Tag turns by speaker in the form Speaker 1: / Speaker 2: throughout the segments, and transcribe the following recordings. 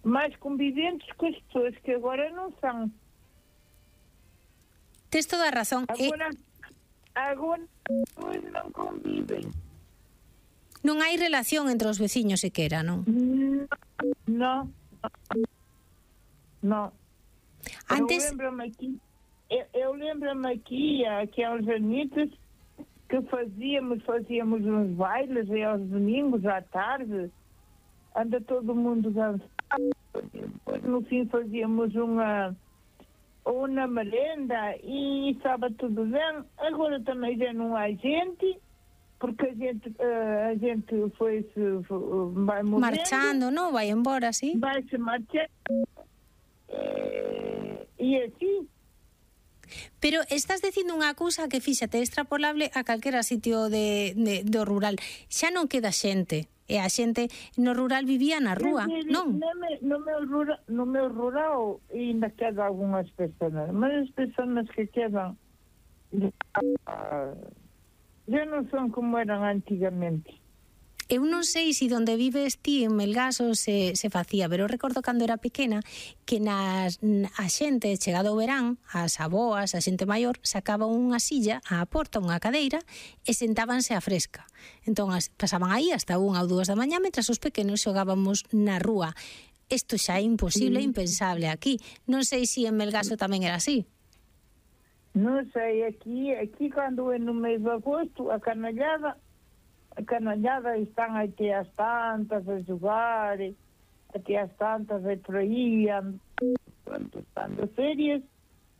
Speaker 1: mais conviventes que as pessoas que agora não são.
Speaker 2: Tes toda a razón.
Speaker 1: Agora as pessoas non convivem.
Speaker 2: Non hai relación entre os veciños sequera, non?
Speaker 1: Non.
Speaker 2: Antes...
Speaker 1: Eu lembro-me aqui, há uns anitos, que fazíamos uns bailes aos domingos à tarde, anda todo mundo dançando, no fim fazíamos uma merenda e estava tudo bem. Agora também já não há gente, porque a gente vai morrendo,
Speaker 2: marchando, non? Vai embora, sí?
Speaker 1: Vai-se marchando. E así.
Speaker 2: Pero estás dicindo unha cousa que fíxate extrapolable a calquera sitio do rural. Xa non queda xente. E a xente no rural vivía na rúa, non?
Speaker 1: No meu rural ainda quedan algunhas persoas, mas as persoas que quedan já non son como eran antigamente.
Speaker 2: Eu non sei se onde vives ti en Melgaso se facía, pero eu recordo cando era pequena que a xente, chegado o verán, as aboas, a xente maior, sacaba unha silla á porta, unha cadeira, e sentábanse á fresca. Entón, pasaban aí hasta 1 ou 2 da mañá, mentras os pequenos xogábamos na rúa. Isto xa é imposible, impensable aquí. Non sei se en Melgaso tamén era así.
Speaker 1: Non sei, aquí cando é no mês de agosto, a canallada están até às tantas a jogar, até às tantas a por aí, estando férias,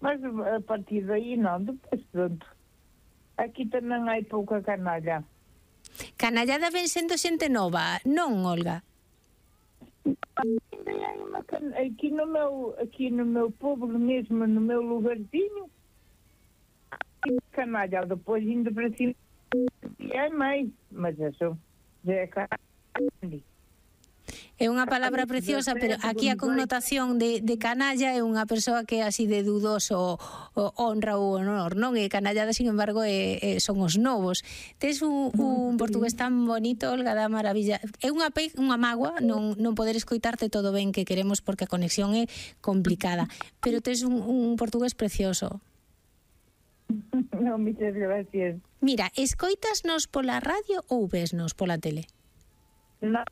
Speaker 1: mas a partir daí non, depois pronto. Aquí tamén hai pouca canalla.
Speaker 2: Canallada ven sendo xente nova, non, Olga?
Speaker 1: Aquí no meu povo mesmo, no meu lugarzinho, canalla, depois indo para cima é máis, mas eso já é canalla.
Speaker 2: É unha palabra preciosa, pero aquí a connotación de canalla é unha persoa que é así de dudoso honra ou honor, non? E canallada, sin embargo, son os novos. Tes un portugués tan bonito, Olga, da maravilla. É unha mágoa non poder escoitarte todo ben que queremos, porque a conexión é complicada, pero tes un portugués precioso.
Speaker 1: Non, muchas gracias.
Speaker 2: Mira, escoitasnos pola radio ou vesnos pola tele?
Speaker 1: Non,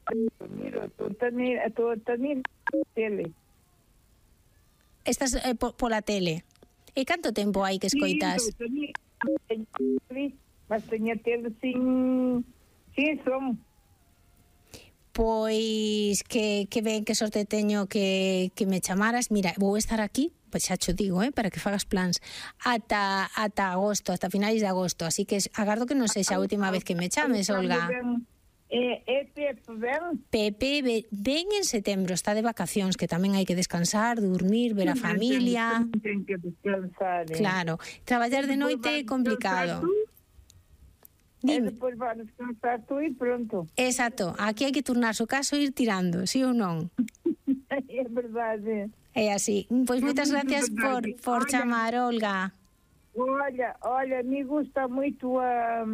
Speaker 1: mira, estou tamén tele.
Speaker 2: Estás pola tele. E canto tempo hai que escoitas?
Speaker 1: Mas teña tele sin som.
Speaker 2: Pois que ben, que sorte teño que me chamaras. Mira, vou estar aquí, pois xa cho digo, para que fagas plans ata agosto, ata finais de agosto, así que agardo que non sexa a última vez que me chames, Olga. Pepe ven en setembro, está de vacacións, que tamén hai que descansar, dormir, ver a familia.
Speaker 1: Ten que descansar.
Speaker 2: Claro, traballar de noite é complicado.
Speaker 1: E depois vai descansar tú e pronto.
Speaker 2: Exacto, aquí hai que turnarse o caso e ir tirando, sí ou non?
Speaker 1: É verdade.
Speaker 2: É así. Pois moitas gracias por chamar, Olga.
Speaker 1: Olha, me gusta moito a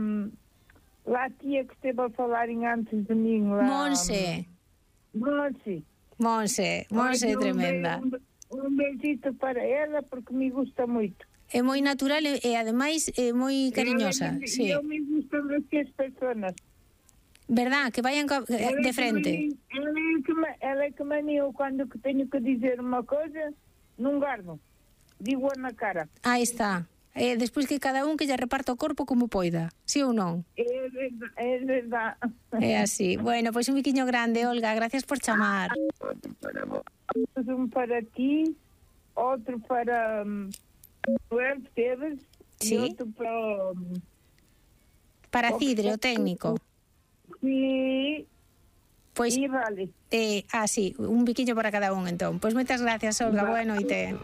Speaker 1: tia que esteve a falar antes de mim.
Speaker 2: Monse é tremenda.
Speaker 1: Un besito para ela, porque me gusta moito.
Speaker 2: É moi natural e ademais é moi cariñosa. Sí.
Speaker 1: Eu me gustan as persoas.
Speaker 2: Verdad, que vayan de frente.
Speaker 1: Ela é que me eu quando teño que dizer unha coisa, non gardo. Digo na cara.
Speaker 2: Aí está. Despois que cada un que lle reparta o corpo como poida, sí ou non?
Speaker 1: É verdad.
Speaker 2: É así. Bueno, pois un biquiño grande, Olga, gracias por chamar.
Speaker 1: Un para ti, outro para Noel Teves,
Speaker 2: sí?
Speaker 1: E outro
Speaker 2: para Cidre, o técnico.
Speaker 1: Sí.
Speaker 2: Pois,
Speaker 1: vale.
Speaker 2: Sí, un biquiño para cada un, entón. Pois moitas gracias, Olga, boa noite.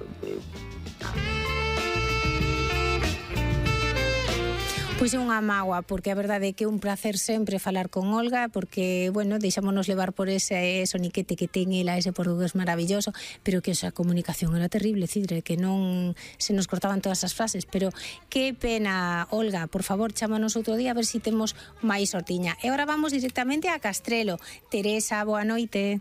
Speaker 2: Pois é unha mágoa, porque a verdade é que é un placer sempre falar con Olga, porque, bueno, deixámonos levar por ese soniquete que ten ela, ese portugués maravilloso, pero que esa comunicación era terrible, Cidre, que non se nos cortaban todas as frases, pero que pena, Olga, por favor, chámanos outro día a ver se temos máis sortiña. E agora vamos directamente a Castrelo. Teresa, boa noite.